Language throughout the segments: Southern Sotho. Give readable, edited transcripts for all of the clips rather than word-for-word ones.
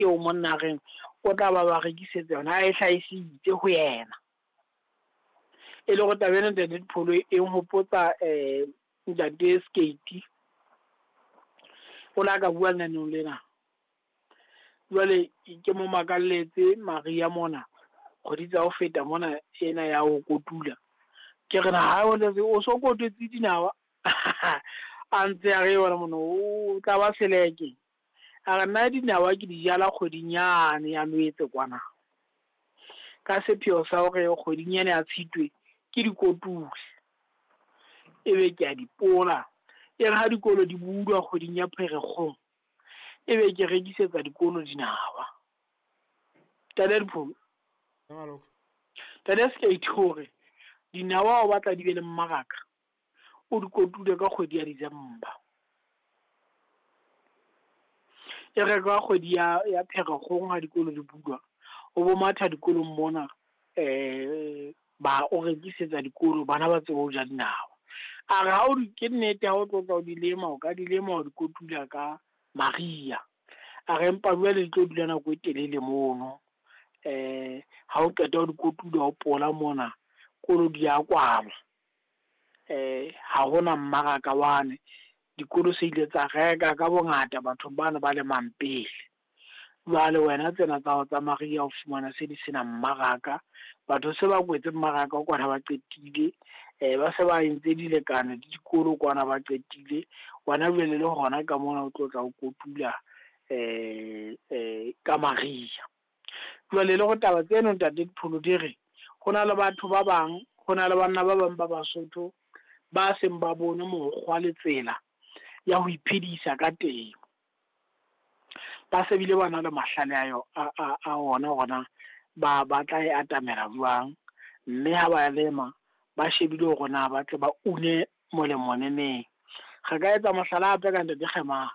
eo monna a reng o tla ba ba rekisetsa yona a e hlahisitse ho yena. E le hore taba ena ntate Dipholo e nhopotsa ntate Skate. O la ka bua lenaneong lena. Jwale ke mo makalletse Maria mona kgwedi tsa ho feta mona ena ya ho kotula. Ke re na o so kotutse dinawa a ntse a re wena mona o tla ba seleke. A re nna dinawa ke di jala kgweding yane ya Loetse kwana. Ka sepheo sa hore kgweding ena ya Tshitwe ke di kotule. Ebe ke a di pola. E re ha dikolo di bulwa kgweding ya Pherekgong, ebe ke rekisetsa dikolo dinawa. Ntate Dipholo. Ntate Skate hore dinawa o batla di be le mmaraka, o di kotule ka kgwedi ya December. E re ka kgwedi ya Pherekgong ha dikolo di bulwa, o bo matha dikolong mona ba o rekisetsa dikolo bana ba tsebe ho ja dinawa. A re ha o di ke nnete ha o tlo tla o di lema, o ka di lema o di kotula ka Maria. A re empa jwale di tlo dula nako e telele mono. Ha o qeta ho di kotula o pola mona, kolo di a kwalwa. Ha hona mmaraka wane. Dikolo se ile tsa reka ka bongata bathong bana ba lemang pele. Jwale wena tsena tsa hao tsa Maria o fumana se di sena mmaraka. Batho se ba kwetse mmaraka o kwana ba qetile. Ba se ba entse dilekane le dikolo kwana ba qetile. Wena jwale le hona ka mona o tlo tla o kotula ka Maria. Jwale le go taba tseno ntate Dipholo di re ho na le batho ba bang, ho na le banna ba bang ba Basotho ba seng ba bone mokgwa le tsela ya ho iphedisa ka temo. Ba se bile ba na le mahlale a ona hore na ba tla e atamela jwang, mme ha ba lema ba shebile hore na ba tle ba une molemo neneng. Re ka etsa mohlala hape ka ntate Kgemane.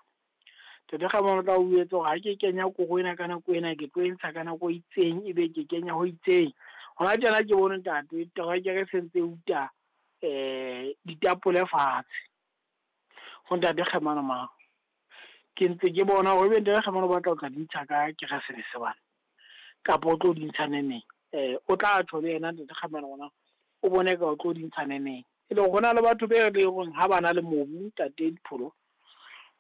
Ntate Kgemane o tla o jwetsa hore ha ke kenya koro ena ka nako ena, ke tlo e ntsha ka nako e itseng, ebe ke kenya ho itseng. Hona tjena ke bone ntate terekere se ntse uta ditapole fatshe ho ntate Kgemane mang. Ke ntse ke bona hore ebe ntate Kgemane o batla ho tla di ntsha ka Keresemese bana, kapa o tlo di ntsha neneng. O tla tjho le yena ntate Kgemane hore o bone ka o tlo di ntsha neneng. E le hore hona le batho be leng hore ha bana le mobu ntate Dipholo,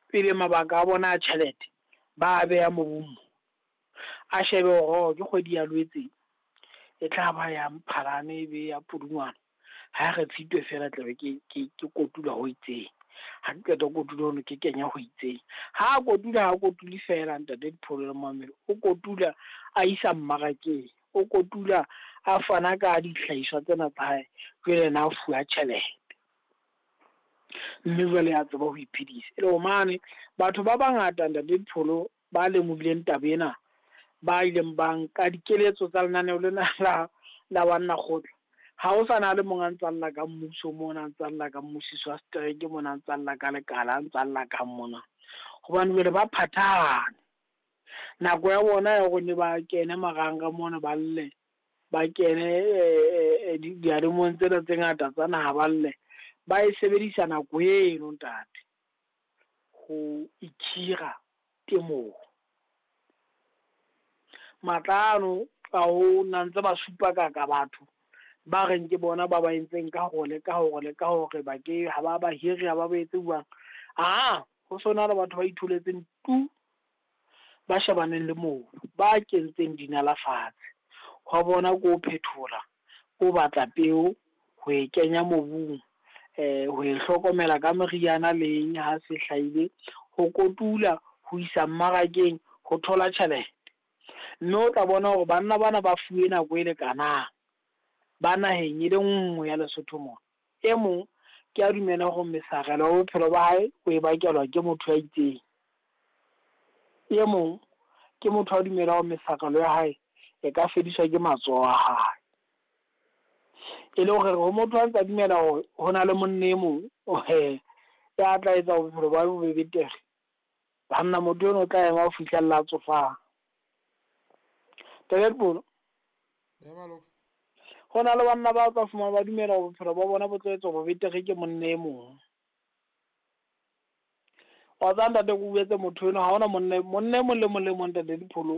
pele mabaka a bona a tjhelete ba a beha mobung mo. A shebe hore ke kgwedi ya Loetse e tla ba ya Mphalane e be ya Pudungwana. Ha re Tshitwe fela tlabe ke kotula ho itseng. Ha ke qeta ho kotula hono ke kenya ho itseng. Ha kotula ha kotule fela ntate Dipholo le Mamelo, o kotula a isa mmarakeng, o kotula a fana ka dihlahiswa tsena tsa hae, jwale yena a fuwa tjhelete. Mme jwale a tseba ho iphedisa. E le hore mane batho ba bangata ntate Dipholo ba lemohileng taba ena, ba ileng ba nka dikeletso tsa lenaneo lena la banna kgotla. Ha o sa na le mong a ntsa lla ka mmuso mona, a ntsa lla ka mmusiso wa setereke mona, a ntsa lla ka lekala, a ntsa lla ka mona. Hobane jwale ba phathahane. Nako ya bona ya hore ne ba kene marangrang mona ba lle, ba kene dialemong tsena tse ngata tsa naha ba lle, ba e sebedisa nako eno ntate ho ikhira temong. Matla ano a ho na ntse ba supa ka batho ba reng ke bona ba ba entseng ka hore le ka hore le ka hore ba ke ha ba ba hire, ha ba ba etse jwang. Ho sona le batho ba itholetseng tu, ba shebaneng le mobu, ba kentseng dinala fatshe. Hwa bona ko ho phethola, ko batla peo, ho e kenya mobung, ho e hlokomela ka meriana le eng ha se hlahile, ho kotula, ho isa mmarakeng, ho thola tjhelete. Mme o tla bona hore banna bana ba fuwe nako e lekanang, ba naheng e le nngwe ya Lesotho mona. E mong ke a dumela hore mesarelo ya bophelo ba hae o e bakelwa ke motho ya itseng. E mong ke motho a dumela hore mesarelo ya hae e ka fediswa ke matsoho a hae. E le hore ho motho a ntsa dumela hore ho na le monna e mong ya tla etsa bophelo ba hae bo be betere. Banna motho eno o tla ema ho fihlella a tsofala. Ntate Dipholo. Ho na le banna ba tla fumana ba dumela hore bophelo ba bona bo tlo etswa bo betere ke monna e mong. Wa tseba ntate ke o jwetse motho enwa ha hona monna monna e mong le mong le mong ntate Dipholo.